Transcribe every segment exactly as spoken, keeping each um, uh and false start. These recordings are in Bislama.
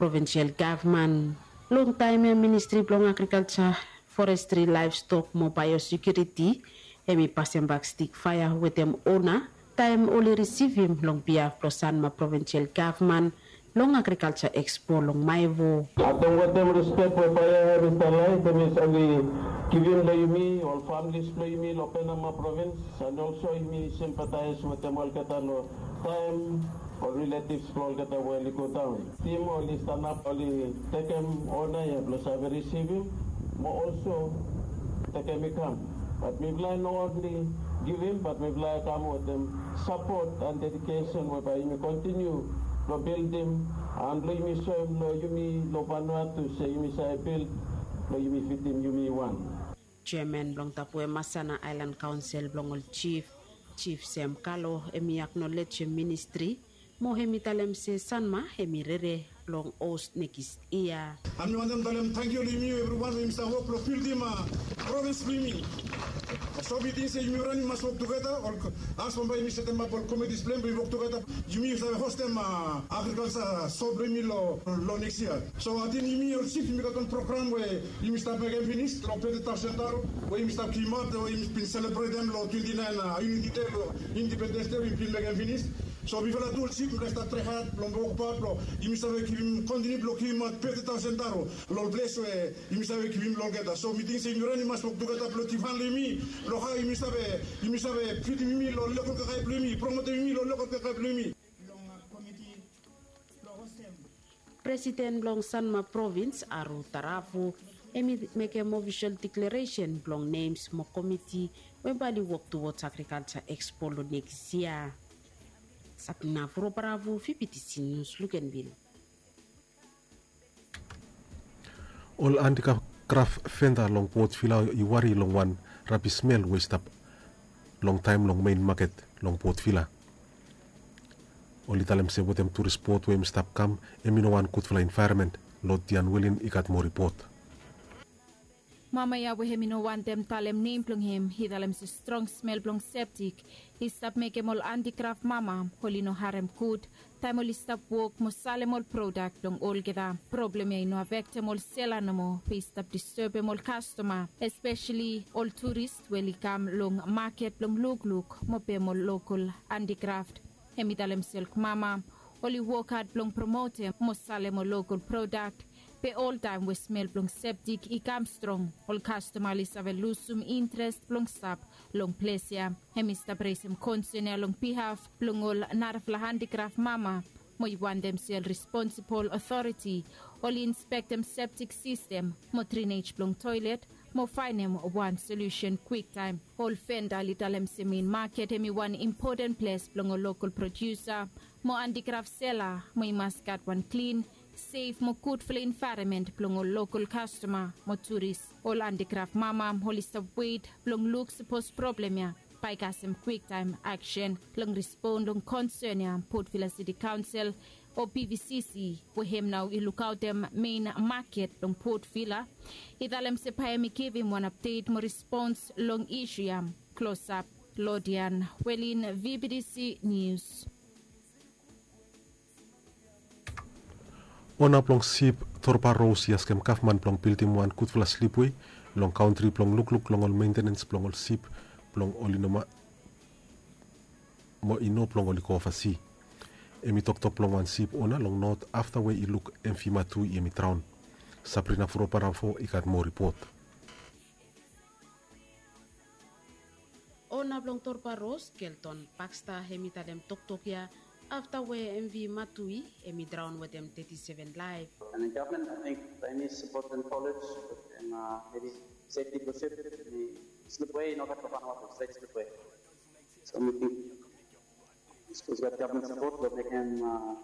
Provinsel gavman. Long taem ya Ministri blong Agrikalja, Forestri, Laevstok mo Baeosekiuriti hemi pasembak stik faea wetem ona taem oli risivim long biaf blong Sanma Provinsel Gavman long Agrikalja Ekspo long Maevo. Ating wetem rispek we faea hemi stap laet, hemi save givim long yumi ol familis blong yumi long Penama Provins, and also yumi simpataes wetem olgeta long taem ol riletivs blong olgeta we oli godaon. Tim oli stanap, oli tekem ona ya blong save risivim mo also tekem i kam. Bat mifala i no onli givim, bat mifala i kam wetem sapot and dedikesen we bae yumi kontiniu blong bildim and blong yumi soem long yumi long Vanuatu se yumi save bil blong yumi fidim yumi wan. Jeaman blong Tapuemasana Aelan Kaonsel blong ol Jif, Jif Sem Kalo, hemi aknolejem ministri mo hemi talem se Sanma hemi rere blong hos nekis yia. Ami wantem talem tangkiu long yumi evriwan we yumi stap wok blong bildim provins blong yumi. So mi ting se yumi ran i mas wok tugeta, ol as bambae yumi setemap ol komitis blong hem blong yumi wok tugeta, yumi save hostem agrikalja so blong yumi long nekis yia. So ating yumi ol Jif yumi gat wan program we yumi stap mekem finis long Pete Taosentaru we yumi stap givimaot, we yumi bin selebretem long twenti naen Uniti Dei, long Indipendens Dei we yumi bin mekem finis. So mifala tu ol Jif mifala i stap traehat blong wokbaot blong yumi save givim, kontiniu blong givimaot Pete Taosentaru long ol ples we yumi save givim long olgeta. So mi ting se yumi ran i mas wok tugeta blong difan long yumi blong hao yumi save, yumi save fidim yumi long lokol kakae blong yumi, promotem yumi long lokol kakae blong yumi. Presiden blong Sanma Provins, Aru Taravu, hemi mekem ofisol deklaresen blong nems mo komiti we bae oli wok tuwods Agrikalja Ekspo long nekis yia. Sabrina Furobaravu, V B T C News, Luganville. Ol andikraf venda long Port Vila i wari long wan rabis smel we i stap longtaem long mein maket long Port Vila. Oli talem se wetem turis bot we hemi stap kam, hemi no wan gudfala envaeronmen. Lodian Welin i gat moa ripot. Mama ya we hemi no wantem talem nem blong hem i talem se strong smel blong septik i stap mekem ol andikraf mama oli no harem gud taem oli stap wok mo salem ol prodak blong olgeta. Problem ya i no afektem ol sela nomo, be i stap disturbem ol kastoma, espeseli ol turis we oli kam long maket blong lukluk mo pem ol lokol andikraf. Hemi talem se ol mama oli wok had blong promotem mo salem ol lokol prodak, be oltaem we smel blong septik i kam strong, ol kastoma oli save lusum intres blong stap long ples ya. Hemi stap resem konsen ya long bihaf blong ol narafala andikraf mama, mo i wantem se ol responsibol otoriti oli inspektem septik sistem mo drenej blong toelet mo faenem wan solusen kwiktaem. Ol venda oli talem se mein maket hemi wan impoten ples blong ol lokol prodiusa mo andikraf sela, mo i mas gat wan klin, sef mo gudfala envaeronmen blong ol lokol kastoma mo turis. Ol andikraf mama oli stap wet blong luk sapos problem ya bae i kasem kwiktaem aksen. Blong respon long konsen ya, Port Vila Siti Kaonsel o P V C C, we hem nao i lukaotem mein maket long Port Vila, i talem se bae hemi givim wan apdet mo respons long isu ya. Klosap, Lodian Welin, V B T C Nius. Ona blong sip Torba Ros i askem gavman blong bildim wan gudfala slipwe long kaontri blong lukluk long ol mentenens blong ol sip blong oli no ma mo i no blong oli go ovasi. Hemi toktok blong wan sip ona long not afta we i luk M V Matui hemi draon. Sabrina Frobarafo i gat moa ripot. Ona blong Torba Ros, Kelton Baxter, hemi talem toktok ya afta we M V Matui hemi draon wetem teti seven laef. And the government, I think they need support and knowledge and uh, maybe safety for ship, the slipway, not like the fun water, straight slipway. So we think it's got government support, but they can uh,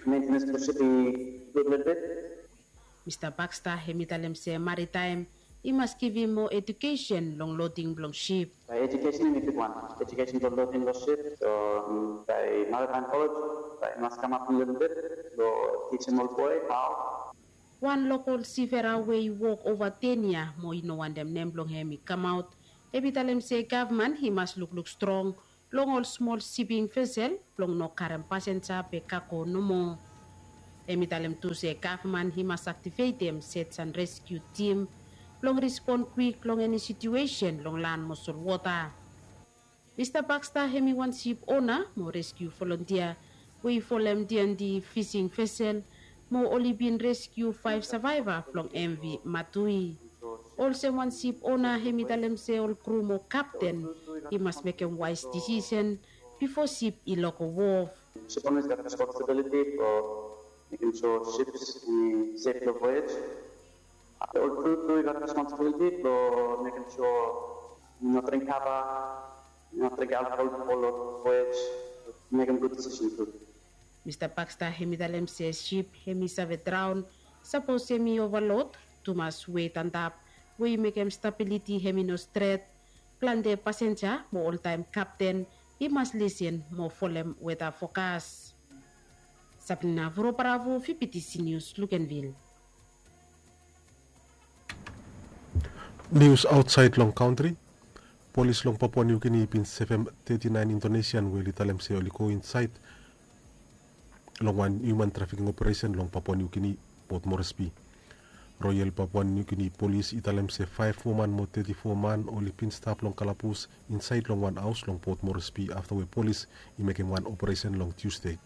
maintenance for ship be good a little bit. Mista Baxter hemi talem se maritaem i mas givim moa edukesen long loding blong sip. Bai edukesen hemi bigwan. Edukesen blong loding blong sip. So bai Maritime College bai i mas kamap a little bit blong tijim ol boe hao. Wan lokol sifera we i wok ova ten yia mo i no wantem nem blong hem i kamaot, hemi talem se gavman i mas lukluk strong long ol smol siping vesel blong no karem pasenja be kago nomo. Hem i talem tu se gavman i mas aktivetem search and rescue tim blong respon kwik long eni situesen long lan mo solwota. Mista Baxta hem i wan sip ona mo reskiu volontia we i folem D and D fising vesel mo oli bin reskiu faef savaiva blong M V Matui. Olsem wan sip ona hem i talem se ol kru mo kapten i mas mekem waes disisen bifo sip i loko wof. Ship owners got responsibility for making sure ships in safe voyage. Ol kru tu i gat responsibility blong mekim sua i no dring kava, i no dring alkohol bifo long voyage, mekim gud disisen tu. Mista Baxta hem i talem se sip hem i save draon sapos hem i ovalod tumas wet antap we i mekem stabiliti hem i no stret. Plante pasenja mo oltaem kapten i mas lisin mo folem weta fokas. Sabrina Voroparavo, V P T C News, Luganville. Nius aotsaed long kantri. Polis long Papua Niu Gini i bin sevem teti naen Indonesian we oli talem se oli go insaed long wan hiuman trafiking operesen long Papua Niu Gini, Port Moresby. Royal Papua Niu Gini Polis i talem se faef woman mo teti fo man oli bin stap long kalabus insaed long wan haos long Port Moresby afta we polis i mekem wan operesen long Tusde.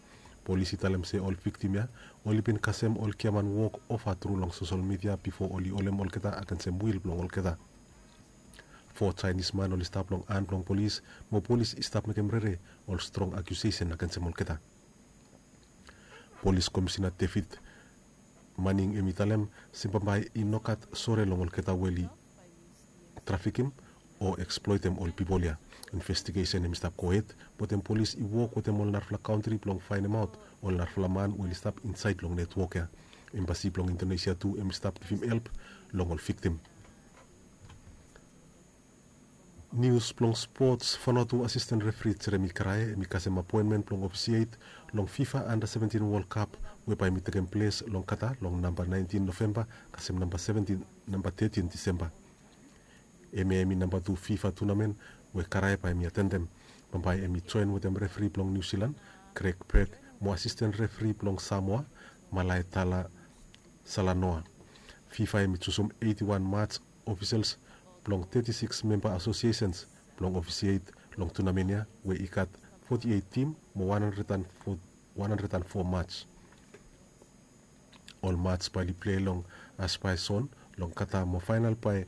Polis i talem se ol viktim ya oli bin kasem ol giaman wok ova tru long sosel midia bifo oli holem olgeta agensem wil blong olgeta. Fo Jaenis man oli stap long han blong polis mo polis i stap mekem rere ol strong akiusesen agensem olgeta. Polis Komisina David Manning hem i talem se bambae i no gat sore long olgeta we oli trafikim o eksploetem ol pipol ya. Investigesen hem i stap gohed wetem polis i wok wetem ol narafala kantri blong faenemaot ol narafala man we oli stap insaed long netwok ya. Embasi blong Indonesia tu hem i stap givim help long ol viktim. Nius blong spots, Vanuatu asisten refri Jeremy Karae hem i kasem apoenmen blong ofisiet long FIFA Under seventeen World Cup we bae hem i tekem ples long Qatar long namba naentin Novemba kasem namba seventin, namba tetin Disemba. Hemia hem i namba tu FIFA tunamen we Karae bae hem i atendem. Bambae hem i joen wetem refri blong Niu Silan, Craig Burke, mo asisten refri blong Samoa, Malae Tala Salanoa. FIFA hem i jusum eiti wan mats ofisels blong teti sikis memba asosiesens blong ofisiet long tunamen ya we i gat foti eit tim mo wan handred and fo, wan handred and fo mats. Ol mats bae oli plei long Aspaison long Qatar mo faenal bae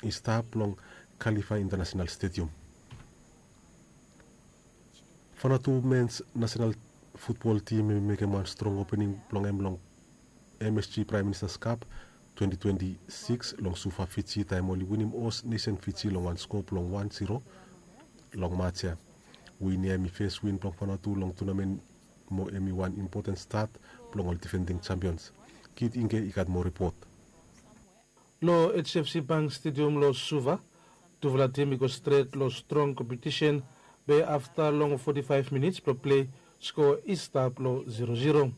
i stap long Khalifa International Stadium. Vanuatu mens nasenal futbol tim hem i mekem wan strong opening blong hem long M S G Prime Minister's Cup twenty twenty-six long Suva, Fiji, taem oli winim host nesen Fiji long wan sko blong wan zero long mats ya. Win ya hem i fes win blong Vanuatu long tunamen mo hem i wan impoten stat blong ol difending jampions. Kit Ingke i gat moa ripot. Lo H F C Bank Stadium lo Suva, tufala tim i go stret lo strong kompetisen be afta long foti faef minits blo plei, sko i stap lo zero zero.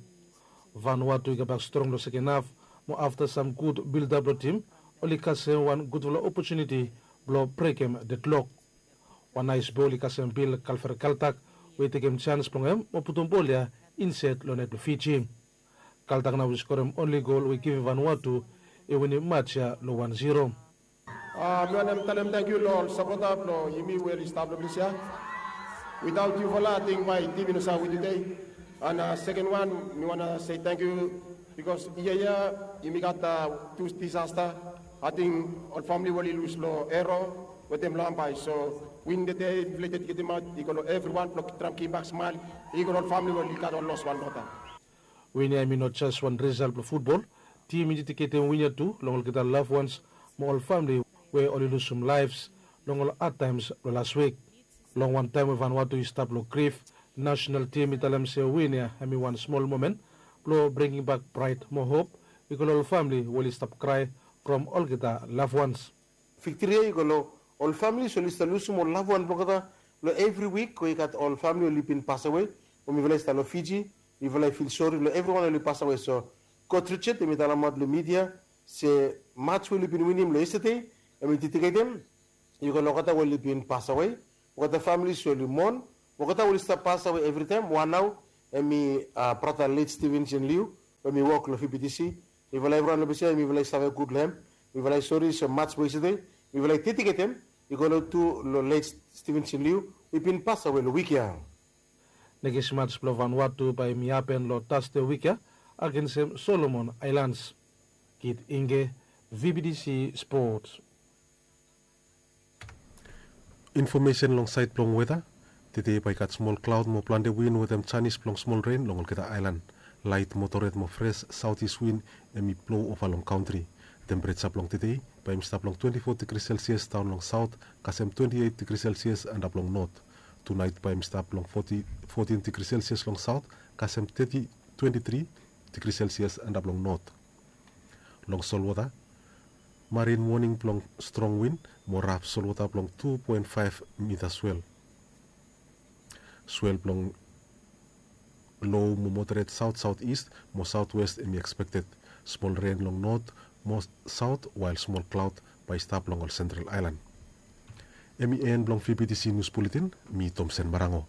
Vanuatu i kambak strong lo seken haf, mo afta sam gud bildap blo tim, oli kasem wan gudfala opotuniti blo brekem dedlok. Wan naes bol i kasem Bill Kalfer Kaltak, we i tekem jans blong hem mo putum bol ya insaed lo net blo Fiji. Kaltak nao i skorem onli gol we i givim Vanuatu i winim mats ya lo wan zero. A, mi wantem talem tangkiu lo ol sapota blo yumi we oli stap lo ples ya. Witaot yufala ating bae tim i no save win tede. An a, seken wan, mi wantem se tangkiu bikos yia ya yumi gat, a, tu disasta. Ating ol famili we oli lus lo ero wetem lo ambae. So win tede mifala i tetikitim aot i go lo evriwan blo traem givimbak smael i go lo ol famili we oli gat ol loswan brata. Win ya hem i no jes wan risal blo futbol. Tim i dediketem win ya tu long olgeta lovwans mo ol famili we oli lusum laefs long ol hadtaems blo las wik. Long wan taem we Vanuatu i stap lo grif, nasenal tim i talem se win ya hem i wan smol momen blo bringingbak praed mo hop i go lo ol famili we oli stap krae from olgeta lovwans. Viktri ya i go lo ol familis we oli stap lusum ol lovwan blo olgeta lo evri wik we i gat ol famili we oli bin pasawe. Mo mifala i stap lo Fiji, mifala i fil sori lo evriwan we oli pasawe. So Kot Richard hem i talemaot lo midia se mats we oli bin winim lo yestade hem i dediketem i go lo olgeta we oli bin pasawe, olgeta familis we oli mon, olgeta we oli stap pasawe evritaem. Wan nao Em i brata let Stevenson Liu we em i wok long V B T C. Mifala evriwan long ples ya mifala i save gud long em. Mifala i sori olsem mats we yestade mifala i dediketem i go long tu long let Stevenson Liu we i bin pasawe long wik ya. Nekis mats blong Vanuatu bae hem i hapen long Tasde wik ya agensem Solomon Aelans. Kit Inge, V B T C Sports. Infomesen long saed blong weta. Tede bae i gat smol klaod mo plante win wetem janis blong smol ren long olgeta aelan. Laet moderet mo fres saotis win hem i blou ova long kantri. Tempereja blong tede bae hem i stap long twenti fo digri selsias daon long saot kasem twenti eit digri selsias antap long not. Tunaet bae hem i stap long fotin digri selsias long saot kasem twenti tri digri selsias antap long not. Long solwota, marin woning blong strong win mo raf solwota blong tu poen faef mita swel. Swel blong lou mo moderet saot saot ist mo saot west hem i ekspekted. Smol ren long not mo saot wael smol klaod bae i stap long ol sentral aelan. Hem i en blong V B T C nius buletin. Mi Tomsen Marango.